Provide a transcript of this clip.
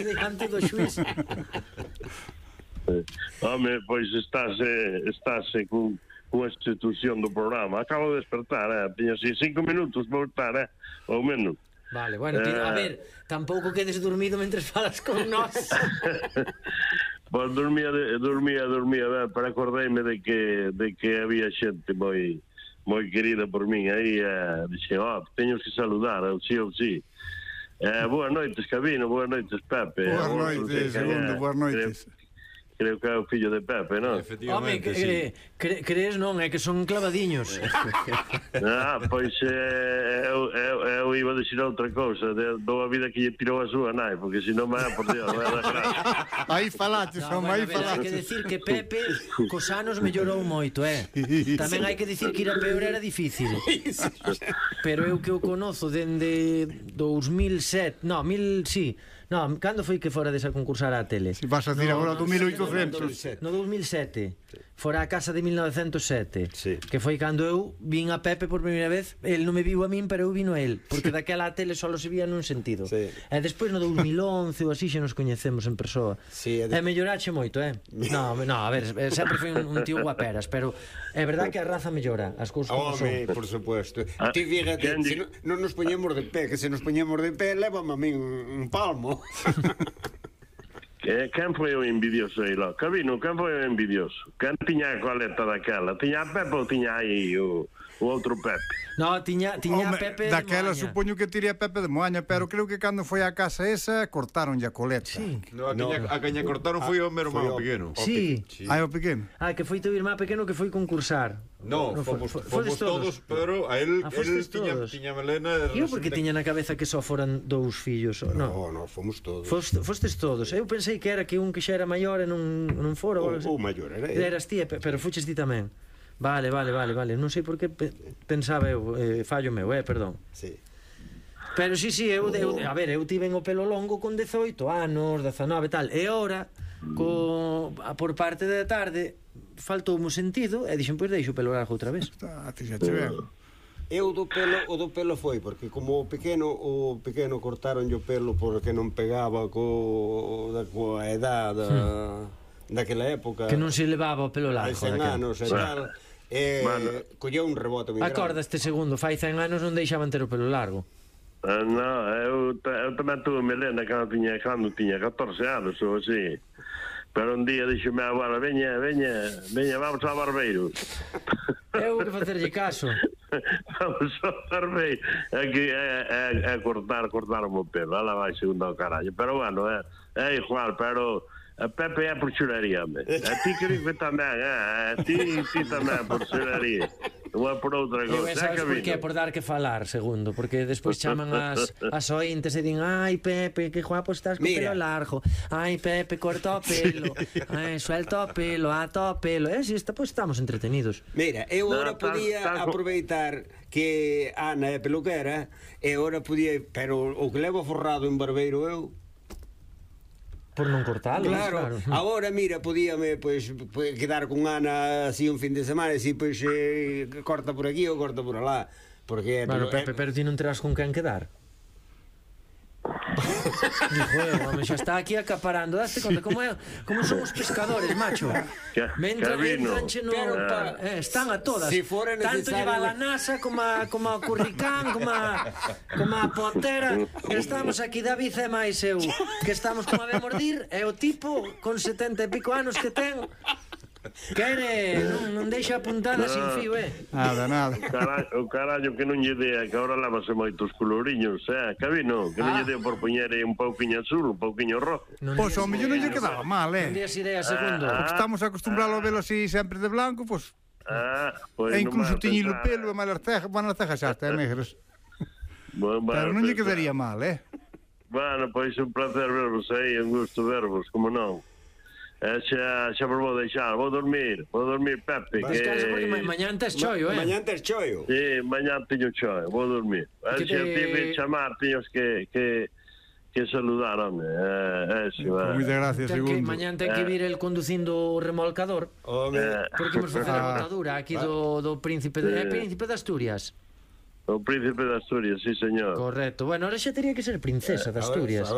diante do xuiz. Home, pois estáse cunha institución do programa. Acabo de despertar, tiña así 5 minutos para estar, ou menos. Vale, bueno, a ver, tampouco quedes dormido mentres falas con nós. Pois dormía ben, pero acordeime de que había xente moi querida por min aí, dixen, teño que saludar, ou sí. Boas noites, Cabino, boas noites, Pepe. Boas noites, Segundo, boas noites. Creo que é o fillo de Pepe, non? Home, crees non, é que son clavadiños. Pois eu iba a dicir outra cousa, dou a vida que lle tirou a súa nai, porque senón por Dios, vai dar gracia. Aí falaches, aí falaches. Hai que decir que Pepe cos anos mellorou moito, Tamén hai que decir que ir a peor era difícil. Pero eu que o conozo dende 2007, cando foi que fora desa concursar á tele? Si vas a decir agora 2800. No 2007. Fora a casa de 1907, que foi cando eu vin a Pepe por primeira vez. El non me viu a min, pero eu vino a el, porque daquela a tele só se vía nun sentido. E despois no 2011 ou así xa nos coñecemos en persoa. E mellorache moito, No, a ver, sempre foi un tío guaperas, pero é verdad que a raza mellora, as cousas como son. Por supuesto. Ti fíjate, se non nos poñemos de pé, que se nos poñemos de pé, lévame a min un palmo. Quen foi o envidioso aí, lo? Cabino, quen foi o envidioso? Quen tiña a coleta daquela? Tiña a Pepe ou tiña aí o outro Pepe? No, tiña a Pepe de daquela Moaña. supoño que tiría Pepe de Moaña, pero creo que cando foi a casa esa cortaronlle a coleta. A caña cortaron foi o meu irmão pequeno. Sí. O pequeno. Que foi teu irmán pequeno que foi concursar. No, fomos todos, pero a él tiña melena. Eu porque tiña na cabeza que só foran dous fillos. No, fomos todos. Fostes todos. Eu pensei que era que un que xa era maior e non fora. O maior era ele. Eras ti, pero fuches ti tamén. Vale. Non sei por que pensaba eu, fallo meu, perdón. Sí. Pero sí, eu tiven o pelo longo con 18 anos, 19 e tal. E ora, por parte da tarde, faltou un sentido e dixen, pois deixo o pelo largo outra vez. Eu do pelo foi porque como o pequeno cortaron o pelo porque non pegaba coa edad daquela época, que non se levaba o pelo largo, 100 anos e tal. Colleu un rebote moi grande. Acorda este segundo, fai 100 anos non deixaban ter o pelo largo. Eu tamén tuve melena cando tiña 14 anos ou así. Pero un día dixo me abuela, veña, vamos ao barbeiro. Eu que facerlle caso. Vamos ao barbeiro. É cortar o pelo. Ela vai segundo ao carallo. Pero bueno, é igual, pero a Pepe é por churaría, a ti creo que tamén, a ti tamén por churaría. Non é por outra cosa. Sabes por que? Por dar que falar, segundo. Porque despois chaman as ointes e din, ai Pepe, que guapo estás co pelo largo. Ai Pepe, corta o pelo. Ai, suelta o pelo, ata o pelo. Si, pois estamos entretenidos. Mira, eu ora podía aproveitar que Ana é peluquera, e ora podía, pero o que levo forrado en barbeiro eu, por non cortalo, claro. Agora, mira, podíame quedar con Ana así un fin de semana e así, corta por aquí ou corta por alá. Porque Pepe, pero ti non terás con quen quedar. Home, xa está aquí acaparando. Daste conta como son os pescadores, macho. Están a todas. Tanto lleva a NASA como a Curricán, como a Pontera. Estamos aquí, David e máis eu, que estamos como a de mordir. E o tipo con 70 e pico anos que ten, non deixa apuntada sin fío, Nada. O carallo que non lle dea, que agora lávase moitos coloriños, Cabino, que non lle dea por poñer un pouquiño azul, un pouquiño rojo. Pois ao mellor non lle quedaba mal, Non días idea, segundo. Porque estamos acostumbrados a velo así sempre de blanco, pois e incluso tiñilo pelo e malas cejas xa está negras. Pero non lle quedaría mal, Bueno, pois un placer vervos aí, un gusto vervos, como non. Xa vos vou deixar, vou dormir, Pepe. Descansa porque mañán tes choio, Mañán tes choio. Sí, mañán teño choio, vou dormir. Se tive chamar, tiños que saludar, home. Moitas gracias, segundo. Mañán ten que vir el conducindo o remolcador, porque imos facer a botadura aquí do Príncipe de Asturias. O Príncipe de Asturias, sí, señor. Correcto. Bueno, ahora xa teria que ser princesa de Asturias.